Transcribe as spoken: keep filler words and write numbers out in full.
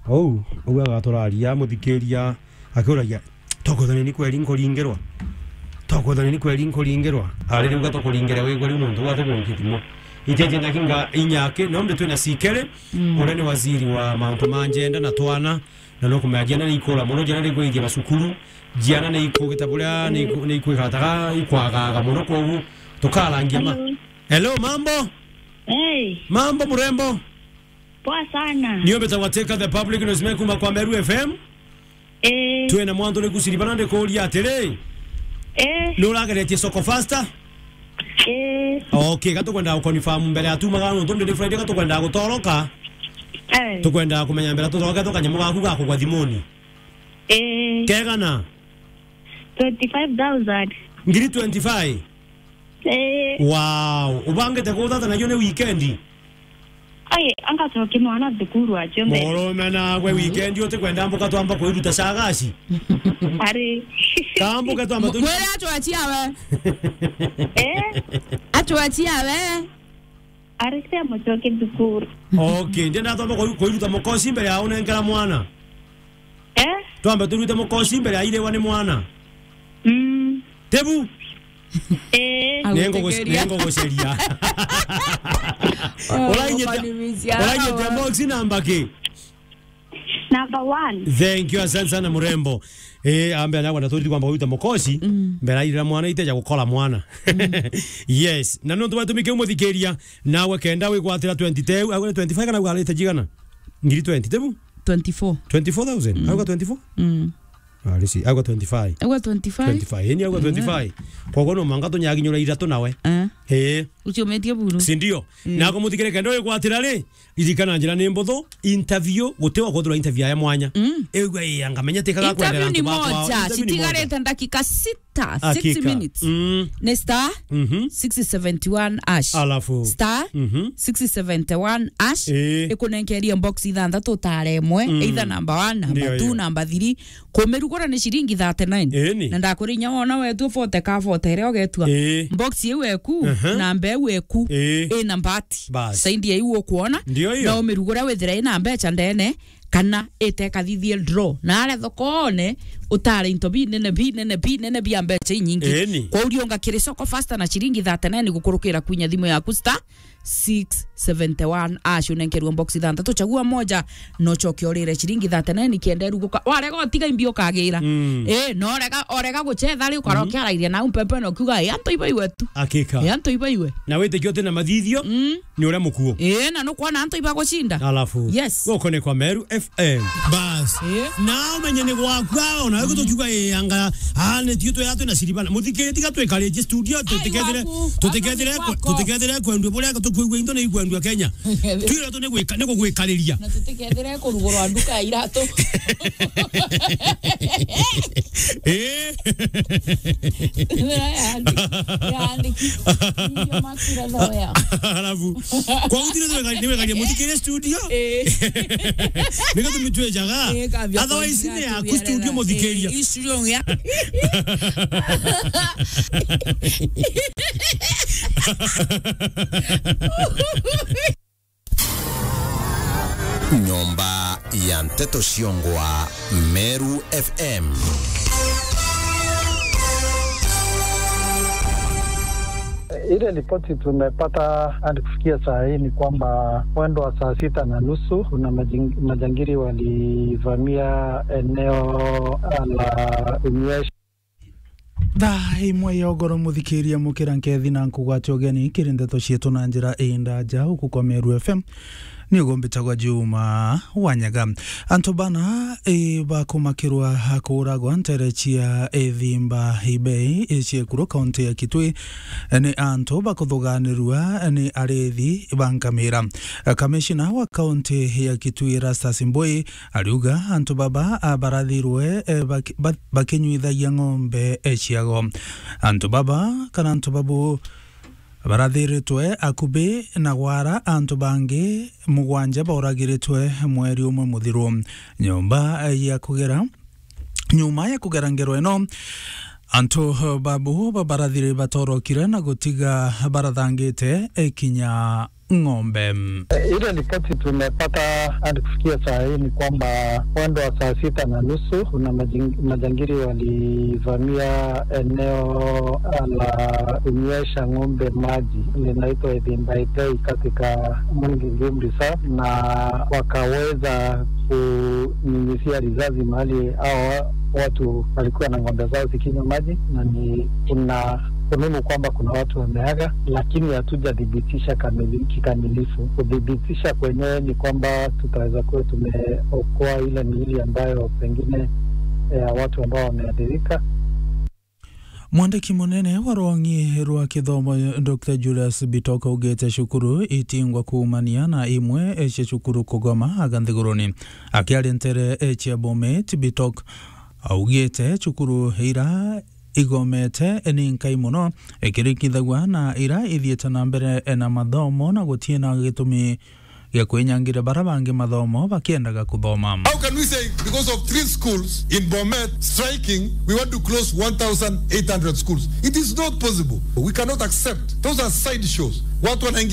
Ou, ou agaturaria, muthikiria, akiuragia, "Tokwethania ni kweri nkuringirwa? Tokwethania ni kweri nkuringirwa?" Ari riu gatukuringire wigwe riu nontu bwa tukunkithimo. Iteje ndakinga inyaki, nombe twina sikere, mm, uria ni waziri wa mauntu ma njenda na twana, na nukumenya jiana ni ikura muno, jiana ni igwithia macukuru, jiana ni ikugita buria ni iku-, ni ikwikara taga ikwagaga muno, kogu tukarangia ma. Hello. Hello, mambo? Hey. Mambo mrembo? Poa sana. Niyo mbetagwa Teka the Public News Me kuma kwa Meru F M. Eh. Twina mwantu ni kusiri bana ndikuria atiri. Eh. Ni urageretie soko faster? Eh. Okay, gatukwenda guconfirm mbere ya tumaga nontu ndi Friday gatukwenda gutoroka. Eh. Tukwenda kumenya mbere tutoroke tukanyamu gaku ga kugwa thimuni. Eh. Kegana? Twenty-five thousand. Ngiri twenty-five? Eh. Wow. Ubangite kuthata nayo ni weekend? Ai, anga coke mwana thukuru acio mbere. Murume nawe weekend utikwenda mbuka twamba kwiruta cagaci? Ari. Kambuka twamba tu- Mwere atwachia we. Eh? Atwachia we. Ari cia mucoke thukuru. Okay, ndienda twamba kwi-, kwiruta mukosi mbere ya unenkera mwana. Eh? Twambe turute mukosi mbere ya irewa ni mwana. Mm. Tebu? Eh. Nengo gos-, nengo goceria. Oh, urainyite, urainyite box namba ki? Number one. Thank you, asante sana mrembo. Eh, ambe anakwenda turiti kwamba kwiruta mukosi, mm, mbere ya irewa mwana iteja gukora mwana. Mm. Yes, na nontu batumike umuthikiria, nawe kenda wigwatira twenty teu, agwe twenty-five kana ugarite jigana? Ngiri twenty, tebu? Twenty-four. Twenty-four thousand? Mm. Auga twenty-four? Mm. Ah, risi, auga twenty-five. Auga twenty-five? Twenty-five. Eni auga, mm, twenty-five. Koguo no mwanka tunyaginyura ithatu nawe. Eh. Eh. Ucio umetie buru. Si ndio? Mm. Na kumuthikire kenda wigwatira ri, ririkana njira ni mbuthu, interview, guti wa kwithirwa interview ya mwanya. Mm. Igwe, ii, anga menya tikaga kwendera antu bakwa. Interview ni moja, interview ni moja. Citigarite ndakika sita. Ta six minutes. Mm. Ni star, mhm, six seventy-one hash. Alafu? Star, mhm, six seventy-one hash. Eh. Ikunenkeria box ithanthatu utare imwe, mm, either number one, number two, number three. Kumirugura ni ciringi thirty-nine. Eni. Na ndakwira inya wona wetu forty ka forty iria ugetua. Eh. Box iu eku, aha, namba iu eku, eh, ina mbati. Bas. Saindi ya iu ukuona. Ndio hiyo. Na umirugura withira ina mbecha ndene. Kana itekathithie draw. Na aria thokone, utare into binene, binene, binene bia mbecha inyingi. Eni. Kwauria unga kiri soko faster na ciringi thirty-nine gukurukira kwinya thimu yaku star six seventy-one hash unenkerwe box ithanthatu, chagua moja, no choke urire ciringi thirty-nine kienda iruguka. Warega utiga imbi ukagira. Mm. Eh, no rega, orega guchetha ri ukarokia, mm, arairia na umpepe no kiuga, "Eh, antu iba iwe tu." Hakika. Eh, antu iba iwe. Na witikia uti na mathithio, mm, ni uria mukuo. Ii, na nukwona antu ibagucinda. Alafu, yes, gukone kwa Meru F M. Bas. Ii. Na umenye ni gwakwa, ona we gutukiuga, ii, anga, ah, ni tio twea twina ciribana. Muthikiri tiga twikaritie studio, tutikethire, gwaku, tutikethire, gwaku, tutikethire kwendua buria tukwigua into ni ikwendua Kenya. Twira tu ni gwika, ni kugwikariria. Na tutikethire kurugurwa nduka ya iratu. Ii. Yaandiki-, yaandiki. Ndio makira thoya. Alafu, kwa utire tu wega, ni wega muthikire studio. Eh. Niko tumitwe jaga. Eh, kambia. Otherwise, kwa ni ya studio muthikiria. Eh, studio ya. Nyomba ya Nteto Ciongwa, Meru F M. Ile ripoti tumepata hadi kufikia saa hii ni kwamba mwendo wa saa sita na nusu kuna majing-, majangili walivamia eneo la Unyweshi. Thaa imwe ya ugoro, muthikiria, mukira nkethi na nkugwate ugeni kiri ndeto cietu na njira indaja uku kwa Meru F M. Ni uguo mbitagwa Juma Wanyaga. Antu bana, i, bakumakirwa kuuragwa ntere cia Ithimba Ibei, i, cia Ekuru, kaunti ya Kitui, ni antu bakuthuganirua ni arithi ba nkamira. Kamishina wa kaunti ya Kitui, Erastus Mbui, ariuga antu baba, a, barathirwe, e, baki-, ba-, bakinyuithagia ng'ombe, e, ciago. Antu baba, kana antu babu, barathiritwe akubi na gwara antu bangi mugwanja bauragiritwe mweri umwe muthiru. Nyomba, e, ya kugera, nyuma ya kugera ngero ino, antu babu babarathire batorokire na gutiga barathangite, e, kinya ng'ombe. Ile ripoti tumepata hadi kufikia saa hii ni kwamba mwendo wa saa sita na nusu kuna majing-, majangili walivamia eneo la kunywesha ng'ombe maji linaitwa Ethimbaitei katika Mwangi Game Reserve, na wakaweza kunyunyizia risasi mahali hao watu walikuwa na ng'ombe zao zikinywa maji, na ni, kuna fununu kwamba kuna watu wameaga, lakini hatujathibitisha kamili-, kikamilifu. Kuthibitisha kwenyewe ni kwamba tutaweza kuwa tumeokoa ile miili ambayo pengine ya watu ambao wameathirika. Mwandiki munene wa rwang'i rwa kithomo, Doctor Julius Bitok, augite cukuru itingwa kuumania na imwe cia cukuru kugoma aga nthiguruni. Akiaria ntere cia Bomet, Bitok augite cukuru ira igomete ni nkai mono, ikirikithagua na ira ithiite na mbere na mathomo, na gutina gitumi gya kwinyangira bara bangi mathomo bakiendaga kuthoma. How can we say, because of three schools in Bomet striking, we want to close one thousand eight hundred schools? It is not possible. We cannot accept. Those are side shows. Watu wanaingia